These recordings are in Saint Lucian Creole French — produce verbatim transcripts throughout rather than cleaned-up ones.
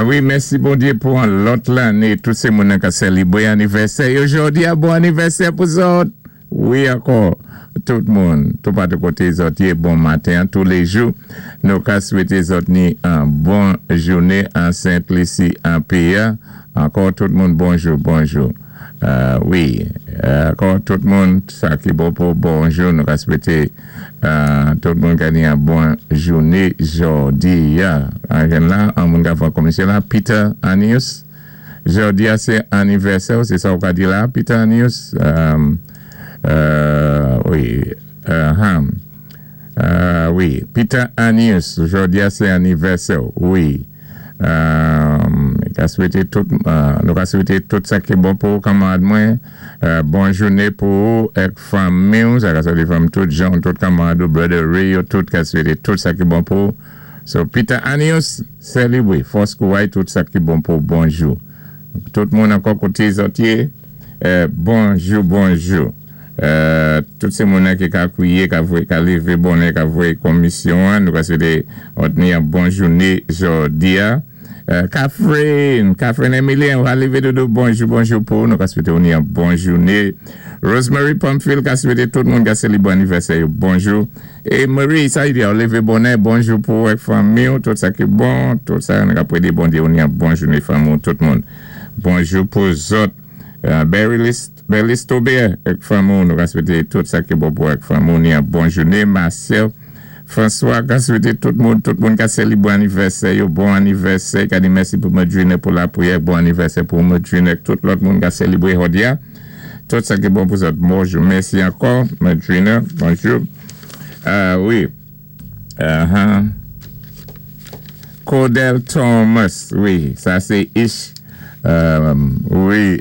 Wi, mèsi Bondyé pou an lòt lanné. Tout sé moun ka sélibwé anivèsè. Jòdi-a, bon anivèsè pou zòt. Wi, ankò. Tout moun, tout patou koté zòt yé, bon maten, tou lé jou. Nou ka swété zòt ni an bon jouné an Sent Lisi an péyi. Ankò tout moun, bonjou, bonjou. Euh, wi, ankò tout moun, sa ki bon pou bonjou, nou ka swété euh, tout moun ka ni an bon jouné jòdi-a. An la, an moun ka fè komisyon la, Peter Anius. Jòdi-a, sé anivèsè, sé sa ou ka di la, Peter Anius. Euh, euh, wi, euh, euh, wi, Peter Anius, jòdi-a, sé anivèsè, wi. Euh, ka swété tout, euh, nou ka swété tout sa ki bon pou kanmarad mwen. Euh, bon jouné pou ou èk fanmi, sa ka swété fanmi tout jan, tout kanmarad ou brother Ray, tout ka swété tout sa ki bon pou. So Peter Anius, sélibwé, fòs kouway, tout sa ki bon pou bonjou. Tout moun ankò koté zòt yé, euh, bonjou, bonjou. Euh, tout sé moun ki ka kwiyé, ka voyé, ka lévé bonè, ka voyé komisyon, nou ka swété ni an bon jouné jòdi-a. Euh, Catherine, Catherine Emilien, ou lévé dodo, bonjou, bonjou pou nou ka swété ni an bon jouné. Rosemary Pamphile, ka swété tout moun ka sélibwé anivèsè, bonjou. É Marie, sa y di, lévé bonè, bonjou pou èk fanmi, tout sa ki bon, tout sa, nou ka pwédé Bondyé, ni an bon jouné fanmi, tout moun. Bonjou pou zòt. Euh, Barry List, Berlis Tobert, èk fanmi, nou ka swété tout sa ki bon pou èk fanmi, ni an bon jouné. Marcel, François, ka swété tout moun, tout moun ka sélibwé anivèsè, yo bon anivèsè, ka di mèsi pou Madrine pou lapwiyè, bon anivèsè pou Madrine, tout lòt moun ka sélibwé jòdi-a. Tout sa ki bon pou zòt, bonjou, mèsi ankò, Madrine, bonjou. Euh, wi. Uh-huh. Cordell Thomas, wi, sa sé Ish. Euh, wi.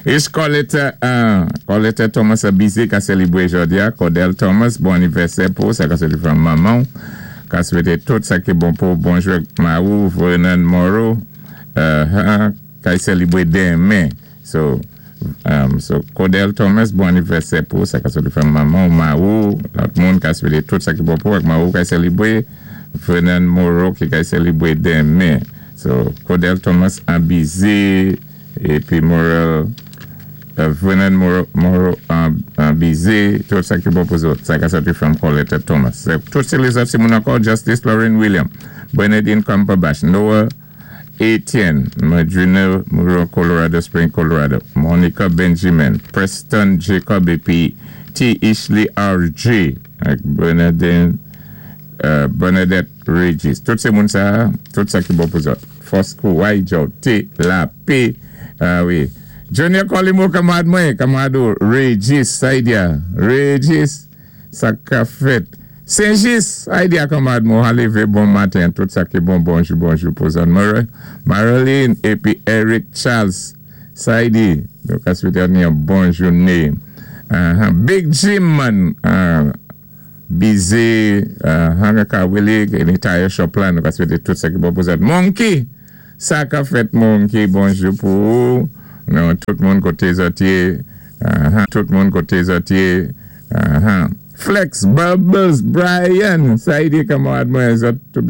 Ish Coletta, uh, Coletta Thomas a bizé ka sélibwé jòdi-a. Cordell Thomas, bon anivèsè pou sa ka sélibwé manman. Ka swété tout sa ki bon pou bonjou Maou, Vernon Moreau, uh, ka sélibwé denmen. So, um, so Cordell Thomas, bon anivèsè pou sa ka sélibwé manman, Maou, lòt moun ka swété tout sa ki bon pou Maou ka sélibwé Vernon Moreau ki ka sélibwé denmen. So, Cordell Thomas an bizé épi Morel, euh, Vernon Moreau, Moreau an, an bizé, tout sa ki bon pou zòt. Sa ka sòti from Coletta Thomas. So, tout sé lèzòt sé moun ankò, Justice Lauren William, Bernadine Cumberbatch, Noah Etienne, Madrina Moreau, Colorado Spring, Colorado, Monica Benjamin, Preston Jacob épi T. Ishley R J, ak Bernadine euh, Bernadette Regis. Tout sé moun sa, tout sa ki bon pou zòt. Fòs kouway, T, la P, ah wi. Junior Colimo, kanmarad mwen, kanmarad Regis, sa y di-a. Regis, sa ka fèt. Saint-Just, sa y di-a kanmarad mwen, lévé bon maten, tout sa ki bon, bonjou, bonjou pou zòt. Marilyn, épi Eric Charles, sa y di. Donk, a swété yon bon jouné. Uh-huh. Big Jim, man, uh, bizé, uh, ka wili, ni tire shop la, nou ka swété tout sa ki bon pou zòt. Monkey, sa ka fèt Monkey, bonjou pou ou. Nou, tout moun koté zòt yé, uh, tout moun koté zòt yé, uh, Flex, Bubbles, Brian, sa y di kanmarad mwen, zòt tout.